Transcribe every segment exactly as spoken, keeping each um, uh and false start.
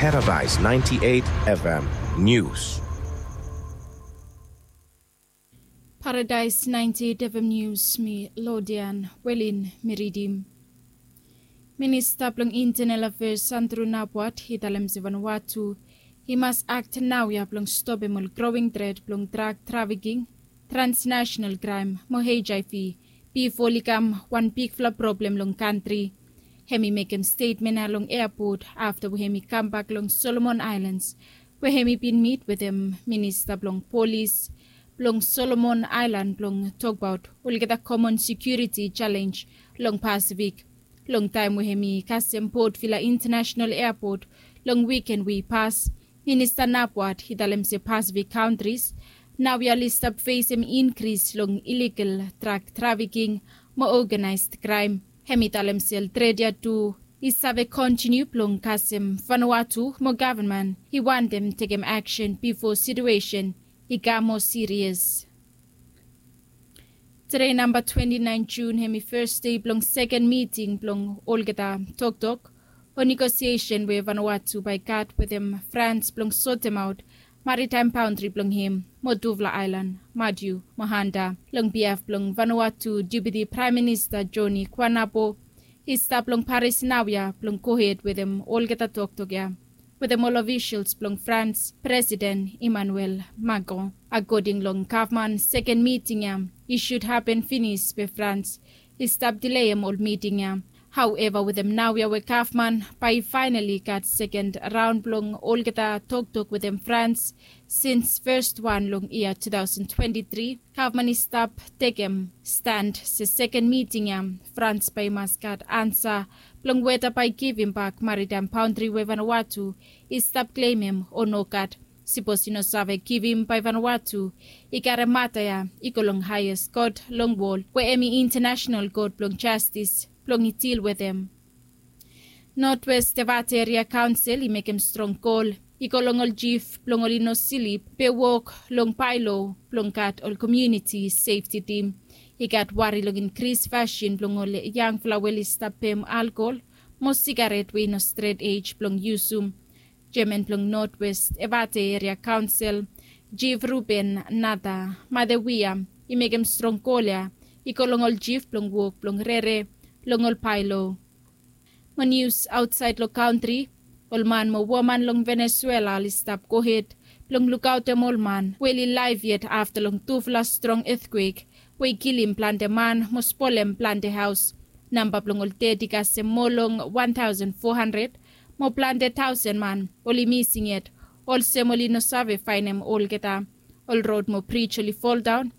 Paradise ninety-eight F M News. Paradise ninety-eight F M News, mi Lodian Welin mi ridim. Minista blong Internal Affairs Andrew Napwat i talem se Vanuatu i mas akt naoia blong stopem ol growing threat blong drug trafficking, transnational crime mo H I V bifo oli kam wan bigfala problem long kantri. Hem i mekem stetmen ya long eapot afta we hem i kambak long Solomon Aelands we hem i bin mit wetem minista blong polis blong Solomon Aelan blong tokbaot olgeta komon sekiuriti jalenj long Pasifik. Long taem we hem i kasem Port Vila Intanasenal Eapot long wiken we i pas, Minista Napwat i talem se Pasifik kantris naoia oli stap fesem inkris long iligal drag trafiking mo oganaesd kraem. Hem i talem se ol tret ya tu i save kontiniu blong kasem Vanuatu mo gavman i wantem tekem aksen bifo situesen i kam moa sirias. Tede namba twenti naen Jun hem i fes dei blong seken miting blong olgeta toktok o negosiesen we Vanuatu bae i gat wetem Frans blong sotemaot maritaem baondri blong hem mo tufala aelan, Matiu mo Hanta. Long biaf blong Vanuatu, Deputi Praem Minista Joni Kuanapo i stap long Paris naoia blong gohed wetem olgeta toktok ya wetem ol ofisals blong Frans presiden Emmanuel Macron. Akoding long gavman, seken miting ya i sud hapen finis be Frans i stap dileem ol miting ya. Haoeva wetem naoia we gavman bae i faenali gat seken raon blong olgeta toktok wetem Frans sins fes wan long yia tu taosen twenti tri, gavman i stap tekem stan se seken miting ya Frans bae i mas gat ansa blong weta bae i givimbak maritaem baondri we Vanuatu i stap klemem o nogat. Sipos i no save givim bae Vanuatu i karem mata ya i go long haeas kot long wol we hem i Intanasenal Kot blong Jastis blong i dil wetem. Notwest Evate Eria Kaonsel i mekem strong kol i go long ol jif blong oli no slip be wok long baelo blong gat ol komuniti sefti tim. I gat wari long inkris fasin blong ol yangfala we oli stap pem alkol mo sigaret we i no stret ej blong yusum. Jeaman blong Notwest Evate Eria Kaonsel, Jif Ruben Nata Matewia, i mekem strong kol ya i go long ol jif blong wok blong rere long ol baelo. Mo nius aotsaed long kantri, ol man mo woman long Venesuela oli stap gohed blong lukaotem ol man we oli laef yet afta long tufala strong etkwek we i kilim plante man mo spolem plante haos. Namba blong ol ded i kasem moa long wan taosen fo handred mo plante taosen man oli mising yet, olsem oli no save faenem olgeta. Ol rod mo brij oli foldaon.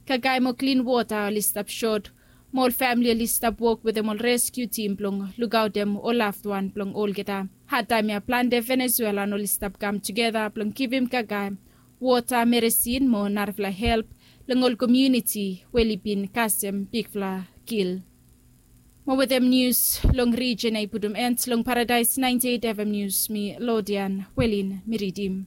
Kakae mo klin wota oli stap sot mo ol famle oli stap wok wetem ol reskiu tim blong lukaotem ol lafwan blong olgeta. Hadtaem ya plante Venesuelan oli stap kam tugeta blong givim kakae, wota, meresin mo narafala help long ol komuniti we oli bin kasem bigfala kil. Mo wetem nius long rijen ya i putum en long Paradaes naenti eit F M Nius, mi Lodian Welin mi ridim.